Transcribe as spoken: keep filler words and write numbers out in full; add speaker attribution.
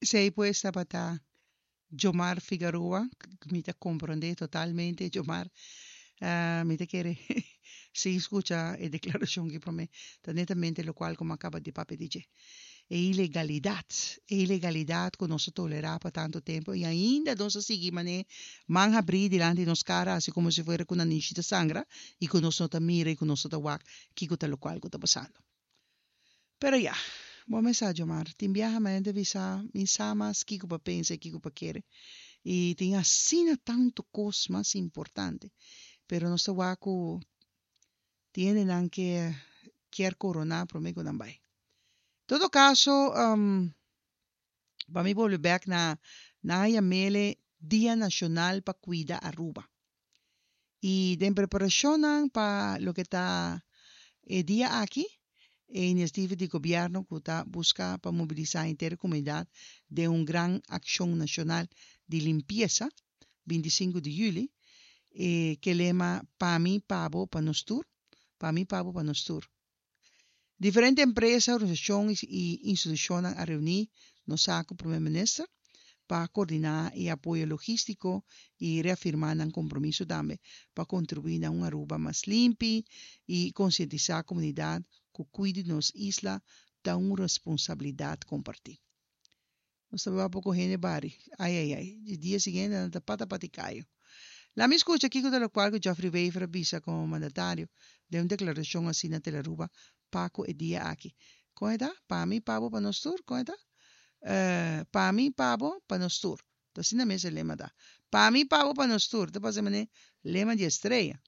Speaker 1: Esey pues tabata Jomar Figaroa, mi ta comprende totalmente Jomar. Uh, mi ta kere si scucha e declaracion aki pa mi, ta netamente locual cu mi a caba di papia di dje. E ilegalidad, e ilegalidad cu nos a tolera pa tanto tempo y ainda nos a sigui mane man habri dilanti nos cara, asina como si fuera cu nanishi ta sangra y cu nos no ta mira y cu nos no ta wak kico ta locual cu ta pasando. Pero ya, bo mes sa, Jomar, tin biaha mi ta bisa, mi sa mas kico pa pensa y kico pa kere. Y tin asina tanto cos mas importante. Pero nos ta wak cu tin hendenan cu kier corona prome cu nan bay. Todo caso, um, pa mi bolbe back na na yam'e Dia Nacional pa Cuida Aruba. Y den preparacion pa loke ta e dia aki, e iniciativa di gobierno cu ta busca pa mobilisa henter comunidad den un gran accion nacional di limpiesa, binticinco di juli, e cu lema "Pa mi, pa bo, pa nos tur, pa mi, pa bo, pa nos tur". Diferente empresa, organisacion y institucion a reuni nos cu Prome Minister pa coordina e apoyo logistico y reafirma nan compromiso tambe pa contribui na un Aruba mas limpi y concientisa e comunidad cu cuido di nos isla ta un responsabilidad comparti. Nos tabata poco hende bari. Ai, ai, ai. E dia siguiente, ta pata pati cayo. Laga mi scucha kico ta locual cu Geoffrey Wever a bisa como mandatario den un declaracion asina na Telearuba pa cu e dia aki. Con ta? Pa mi, pa bo, pa nos tur? Con ta? Uh, pa mi, pa bo, pa nos tur. Asina mes e lema ta. Pa mi, pa bo, pa nos tur. Ta pasando lema di estreya.